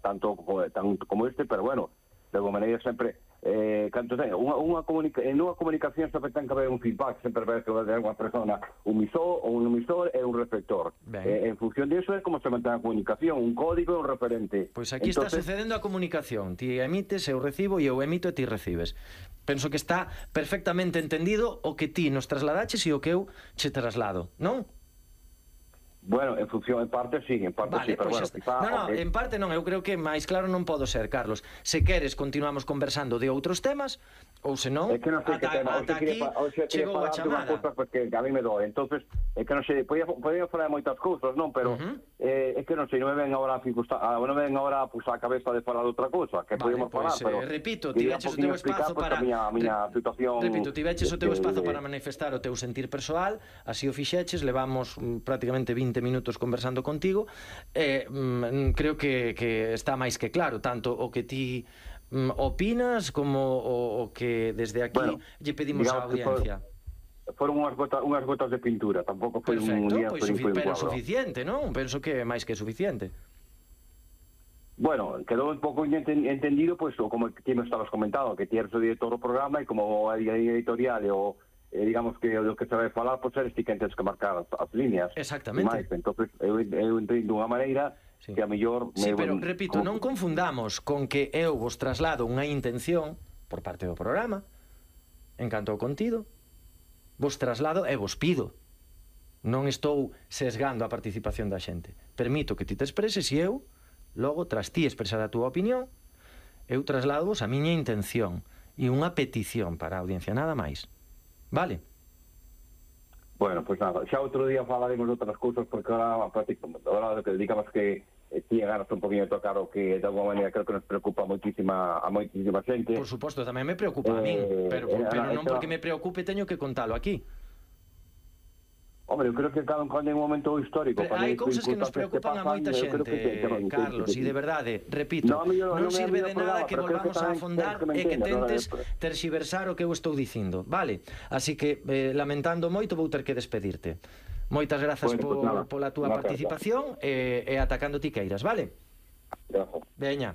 tanto como este, pero bueno, de alguma maneira sempre canto ten unha comunicación sempre ten que haber un feedback, sempre ver que vai ter unha persona un emisor e un receptor. En función disso é como se mantén a comunicación, un código e un referente. Pois aquí está sucedendo a comunicación, ti emites, eu recibo, e eu emito e ti recibes. Penso que está perfectamente entendido o que ti nos trasladaches e o que eu che traslado, non? Bueno, en función, en parte sí, vale, pero pues bueno, en parte non, eu creo que máis claro non podo ser, Carlos. Se queres, continuamos conversando de outros temas, ou senón, é que non sei que tema, ata aquí chegou a chamada. Porque a mí me doe, entonces, é que non sei, podía falar moitas cousas, non? Pero é que non sei, non me ven agora a cabeza de falar de outra cousa, que podemos falar, pero repito, tiveches o teu espazo para a miña situación. Repito, tiveches o teu espazo para manifestar o teu sentir persoal, así o fixeches, levamos prácticamente 20 minutos conversando contigo, creo que está máis que claro, tanto o que ti opinas como o que desde aquí lle pedimos á audiencia. Foron unhas gotas de pintura, tampouco foi un día, pero suficiente, non? Penso que é máis que suficiente. Bueno, quedou un pouco entendido, pois, como ti me estabas comentando, que ti eres o director do programa e como a editorial e o digamos que o que se vai falar, pois eres ti que tens que marcar as líneas. Exactamente. Entón, eu entendo dunha maneira que a mellor... Sí, pero, repito, non confundamos con que eu vos traslado unha intención por parte do programa, en canto ao contido, vos traslado e vos pido. Non estou sesgando a participación da xente. Permito que ti te expreses e eu, logo, tras ti expresar a túa opinión, eu traslado vos a miña intención e unha petición para a audiencia, nada máis. Vale? Bueno, pois nada, xa outro día falaremos de outras cousas, porque ahora que digamos que ti ganas un poquinho de tocar o que de alguma maneira creo que nos preocupa a moitísima xente. Por suposto, tamén me preocupa a min, pero non porque me preocupe teño que contalo aquí. Hombre, eu creo que cada un momento histórico. Hai cousas que nos preocupan a moita xente, Carlos, e de verdade, repito, non sirve de nada que volvamos a afondar e que tentes terxiversar o que eu estou dicindo, vale? Así que, lamentando moito, vou ter que despedirte. Moitas grazas pola túa participación e atacando ti queiras, vale? Veña.